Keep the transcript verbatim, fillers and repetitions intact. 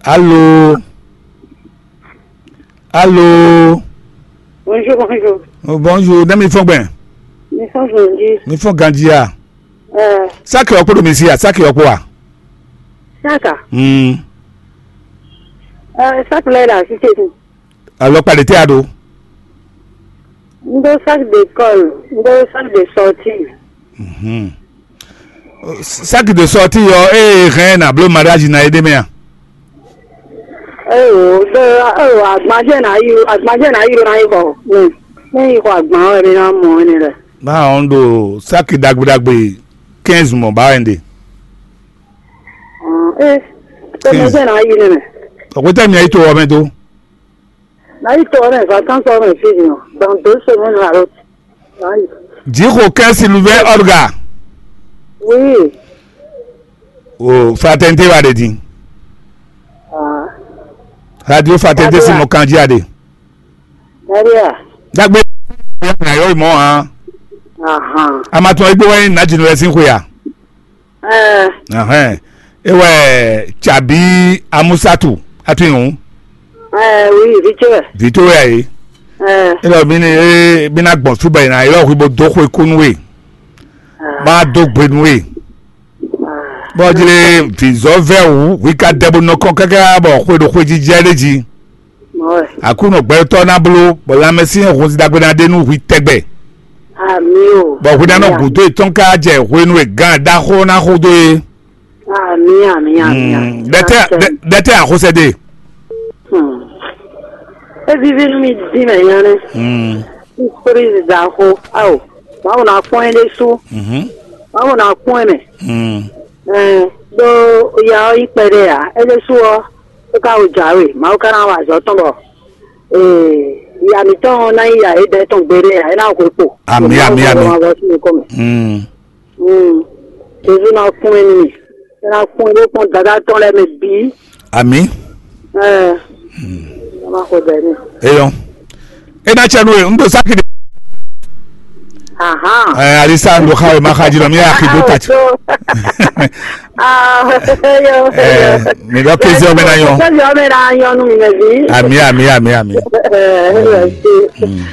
Allô? Allô? Bonjour, bonjour. Oh, bonjour, ne mi fɔn gbɛn? Mi fɔn gbɛn, di. Mi fɔn ganji a? Euh, Saki ɔkpɔ ɖo mi si a? Saki ɔkpɔ a? Saka. Hmm. Euh, saki lɛ la, si se. Alɔkpa ɖe tɛ a ɖo? N ɖó sac d'école, n ɖó sac de sortie. Mhm. Sac de sortie ɔ́, ée hɛn na bló mariage na é ɖé mɛ a? Eyo, ɖo eyo, agbanjɛ na yi, agbanjɛ na yi ɖo na yi xɔ. Ne yi xɔ agban ɔ́, mi na mɔ ɛnɛ lɛ. Má ɔn ɖo sac ɖagbe ɖagbe quinze mɔ ba wɛ ɖe. Ee, tɛmɛ jɛ na yi nɛ mɛ. Ɔkpɛtɛ mi ayi to ɔmɛ do. Na yi to ɔmɛ vacances ɔmɛ fi nɔ. Dans deux semaines alo. Jixo kɛn Sylvain Orga. Oui. O fraternité wa de din. Ah. Radio fraternité si mo kanji ade. Maria. Dagbe. Na yo mo ha. Aha. Amato igbo wa na jinu sin ko ya. Ɛɛ. Ahɛn. E wɛ Tsabi Amusatu atu yi hɔn. Ɛɛ, oui, vitsɛ. Vito ya yi. Ɛɛ. E lɔ mi ni e mi na gbɔn suba yi na e lɔ hui bo do xwe kunu we. Ɛɛ. Ma do gbe nu we. Ɛɛ. Bɔ jire vizɔ vɛ wu hui ka dɛ bo nɔ kɔ kaka bɔ xwe ɖo xwe jijɛ ɖe ji. Mɔ̌ wɛ. Aklúnɔ gbɛtɔ́ ná bló, bɔ lanmɛsyɛn hun sin ɖagbe ná ɖe nú hwi tɛgbɛ. Amí o. Bɔ hwi ná nɔ gǔdo yětɔn ká jɛ hwenu e gǎn ɖaxó ná xo dó é. Amí, amí, amí, amí. Ɖɛtɛ, ɖɛtɛ axosɛ ɖe. Hmm. É víví nú mi dín mɛ nya nɛ́. Hmm. Surprise ɖaxó. Ao, Mawu ná kpɔ́n ɛ ɖésú. Mhm. Mawu ná kpɔ́n ɛ mɛ. Hmm. Ɛɛ, ɖó ya ɔ́ nyí kpɛɖé ǎ. É ɖésú ɔ́, é ka wo jǎwe. Mawu ka ná wa azɔ̌ tɔn bɔ ee, ya mǐtɔn ɔ́ ná nyí ya éɖɛ́ tɔn gbeɖé ǎ. É ná hwe kpo. Amǐ, amǐ, amǐ. Mawu ɔ́ sín nukɔn mɛ. Mm. Mm. Jezu ná kún ɛ nú mì. É ná kún ɛ bó kpɔ́n dadá tɔn lɛ́ɛ mɛ bǐ. Amǐ. Ɛɛ. Mm. Ná má xwe bɛ̌ n'i. Eyɔn. É ná cɛ nú we, un ɖo sáki ɖe. Ahan. Ɛɛ, alisa un ɖo xa we ma xa jí nɔ mi axi ɖo ta ci. Ah, eyɔn, eyɔn. Ɛɛ, mi ɖɔ kézé ɔmɛ ná nyɔ. Kézé ɔmɛ ná nyɔ nú mi mɛ bǐ. Amǐ, amǐ, amǐ, amǐ. Ɛɛ, ɛɛ, ɛɛ. Mm.